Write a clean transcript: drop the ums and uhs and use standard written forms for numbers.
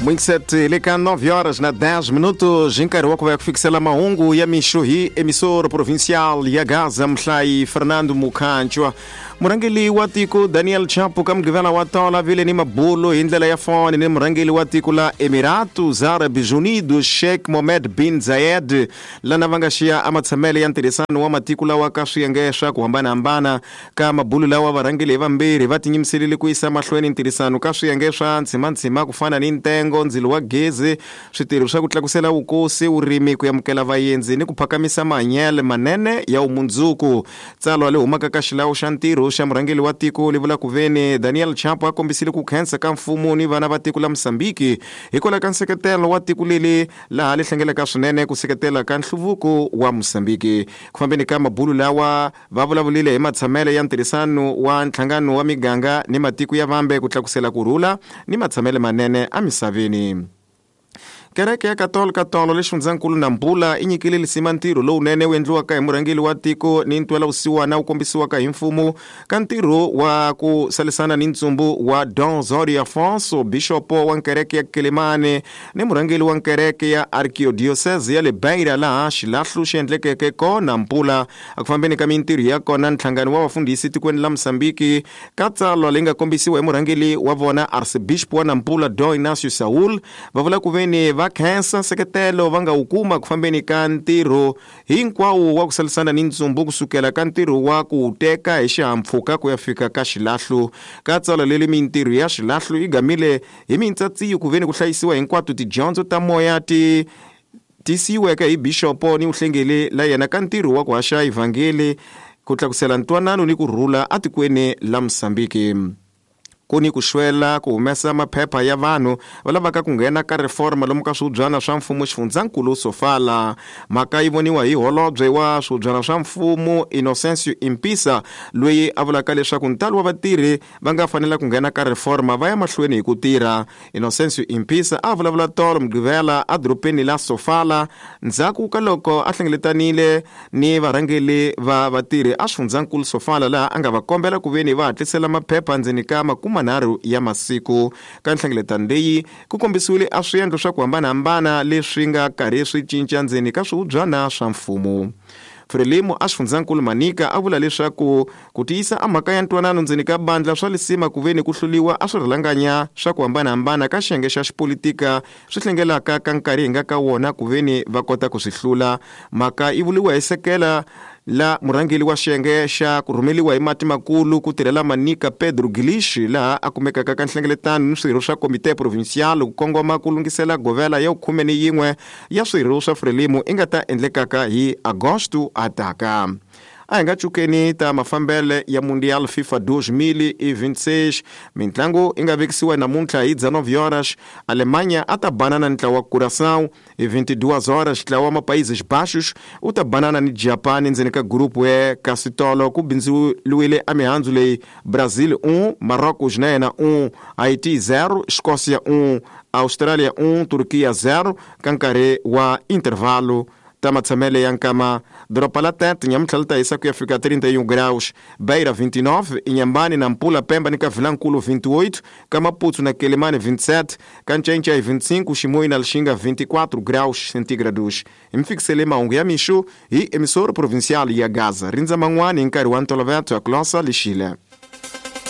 Mwingiseti le ka 9 horas na 10 minutos hi nkarhi wa ku va ya ku fikisela mahungu ya mixo hi emissor provincial ya Gaza muhlayi Fernando Mukhanchwa. Murhangeli wa tiko Daniel Chapo ka Mugqivela wa tolo a vile ni mabulo hi ndlela ya foni ni murhangeli wa tiko la Emiratos Árabes Unidos Sheikh Mohammed bin Zayed lana va nga xiya amatshamele ya ntirhisano wa matiko lawa ka swiyenge swa ku hambanahambana. Ka mabulo lawa varhangeli hi vambirhi va tinyimiselile ku yisa mahlweni ntirhisano ka swiyenge swa ntshimantshima ku fana ni ntengo, ndzilo wa gezi, switirho swa ku tlakusela vukosi, vurimi, ku amukela vaendzi ni ku phakamisa mahanyelo manene ya vumundzuku. Tsalwa le humaka ka xilawu xa ntirho xa murhangeli wa tiko li vula ku veni Daniel Chapo a kombisile ku khensa ka mfumo ni vana va tiko la Mozambique hikwalaho ka nseketelo wa tiko leli laha li hlengelaka swinene ku seketela ka nhluvuko wa Mozambique. Ku fambeni ka mabulu lawa va vulavulile hi matshamele ya ntirhisano wa nhlangano wa miganga ni matiko ya vambe ku tlakusela ku rhula ni matshamele manene emisaveni. Kereke ya Katolika tolo le xifundzankulu Nampula i nyikile lisima ntirho lowunene wu endliwaka hi murhangeri wa tiko ni ntwela-vusiwana wu kombisiwaka hi mfumo ka ntirho wa ku salisana ni ntsumbu wa Dom Zorio Afonso, bixopo wa nkereke ya Quelimane ni murhangeri wa nkereke ya Arquidiocese ya le Beira laha xilahlo xi endlekeke kona Nampula. Eku fambeni ka mintirho ya kona nhlangano wa vafundhisi tikweni la Mozambique ka tsalwa leyi nga kombisiwa hi murhangeri wa vona Archbishop wa Nampula Dom Inácio Saúl va vula ku veni va khensa nseketelo va nga wu kuma ku fambeni ka ntirho hinkwawo wa ku salisana ni ntsumbu kusukela ka ntirho wa ku wu teka hi xihahampfhuka ku ya fika ka xilahlo. Ka tsalwa leri mintirho ya xilahlo yi gamile hi mintsatsiyo ku veni ku hlayisiwa hinkwato tidyondzo ta moya ti tisiweke hi bixopo ni vuhlengeli la yena ka ntirho wa ku haxa evhangeli ku tlakusela ntwanano ni ku rhula atikweni la Mozambique. Ku ni ku xwela ku humesa maphepha ya vanhu va lavaka ku nghena ka reforma lomu ka swihubyana swa mfumo xifundzankulu Sofala. Mhaka yi voniwa hi holobye wa swihubyana swa mfumo Inocencio Impissa loyi a vulaka leswaku ntalo wa vatirhi va nga fanela ku nghena ka reforma va ya mahlweni hi ku tirha. Inocencio Impissa a vulavula tolo Mugqivela edorobeni la Sofala ndzhaku ka loko a hlengeletanile ni varhangeli va vatirhi a xifundzankulu Sofala laha a nga va kombela ku veni va hatlisela maphepha ndzeni ka makumanharhu ya masiku. Ka nhlengeletano leyi ku kombisiwile a swiendlo swa ku hambanahambana leswi nga karhi swi cinca ndzeni ka swihubyana swa mfumo. Frelimo a xifundzankulu Manica a vula leswaku ku tiyisa a mhaka ya ntwanano ndzeni ka bandla swa lisima ku veni ku hluliwa a swirhalanganya swa ku hambanahambana ka xiyenge xa xipolitika swi hlengelaka ka nkarhi hi nga ka wona ku veni va kota ku swi hlula. Mhaka yi vuriwa hi sekela la murhangeri wa xiyenge xa ku rhumeliwa hi mati makulu ku tirhela Manica Pedro Guilis laha a kumekaka ka nhlengeletano ni swirho swa komite provincial ku kongoma ku lunghisela govela ya khume ni yin'we ya swirho swa Frelimo i nga ta endlekaka hi Agosto a taka. A hi nga cukeni ta mafambele ya Mundial FIFA 2026. Mintlangu i nga vekisiwa namuntlha hi 19 horas. Alemanha a ta banana ni ntlawa wa Curaçao hi 22 horas. Ntlawa wa Mapaíses Baixos u ta banana ni Japani ndzeni ka gurupu E. Kasi tolo ku bindzuriwile a mihandzu leyi Brazil 1, Marrocos na yena 1, Haiti 0, Escócia 1, Australia 1, Turquia 0 ka nkarhi wa intervalo. Ta matshamele ya nkama doroba la Tete nyamuntlha li ta hisa ku ya fika 31 graus, Beira 29, Inhambane, Nampula, Pemba ni ka Vilankulu 28, ka Maputo na Quelimane 27, ka Ncencei 25, Chimoio na Lixinga 24 graus centígrados. Hi mi fikisele mahungu ya mixo hi emissora provincial ya Gaza. Rindza man'wana hi nkarhi wa ntolovelo ya Kulosa Lixile.